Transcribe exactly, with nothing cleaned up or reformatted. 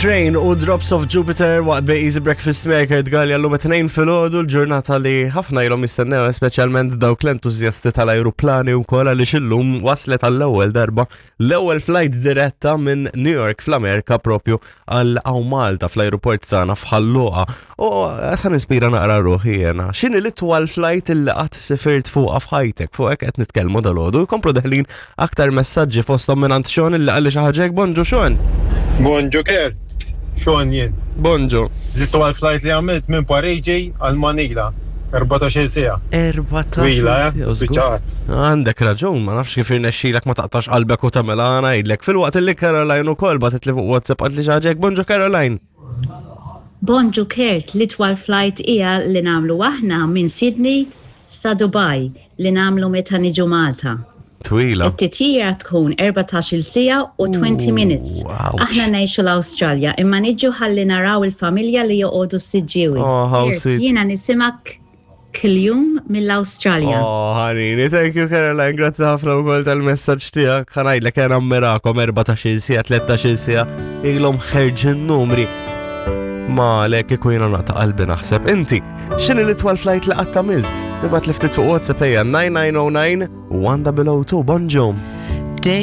Train u Drops of Jupiter waqt Bej Easy Breakfast Maker tgalja l-lum it-tnejn filgħodu, l-ġurnata li ħafna ilhom jistennew, speċjalment dawk l-entużjasti tal-ajruplani u koll, għaliex illum waslet għall-ewwel darba l-ewwel flight diretta minn New York fl-Amerika propju għal hawn Malta fl-ajruport tagħna f'Ħal Luqa. U qed nispira naqra ruħi jiena. X'inhi l-itwal flight illi qatt sifirt fuqha f'ħajtek? Fuq hekk qed nitkellmu dalgħodu. Jkomplu deħlin aktar messaġġi, fosthom minn Sean illi qalli xi ħaġa hekk. Bonġu, Sean. Bonġu Kurt, Sean jien. Bonġu. L-itwal flight li għamilt minn Pariġi għal Manila. erbatax-il siegħa. erbatax Twila, eh? siegħa, żgur. Spiċċat. Għandek raġun, ma nafx kif irnexxilek ma taqtax qalbek u tagħmel, ngħidlek. Filwaqt li Caroline ukoll bagħtet li fuq WhatsApp, qaltli xi ħaġa hekk. Bonġu, Caroline. Bonġu Kurt, l-itwal flight hija li nagħmlu aħna minn Sydney sa Dubai li nagħmlu meta niġu Malta. Twila. It-titjira tkun erbatax-il siegħa u twenty minutes. Ouch. Aħna ngħixu l-Awstralja imma niġu ħalli naraw il-familja li joqogħdu s-Siġġiewi. Oh, how Kurt, sweet. jiena nisimak kuljum mill-Awstralja. Oh, ħanini, thank you, Caroline, grazzi ħafna wkoll tal-messaġġ tiegħek. Ħa ngħidlek jien nammirakom, erbatax-il siegħa, tlettax-il siegħa, ilhom ħerġin numri. Ma lek kieku jiena naqta' qalbi naħseb. Inti, x'inhi l-itwal flight li qatt għamilt? Ibgħat li ftit fuq WhatsApp ejja nine nine oh nine one double oh two. Bonġu. Day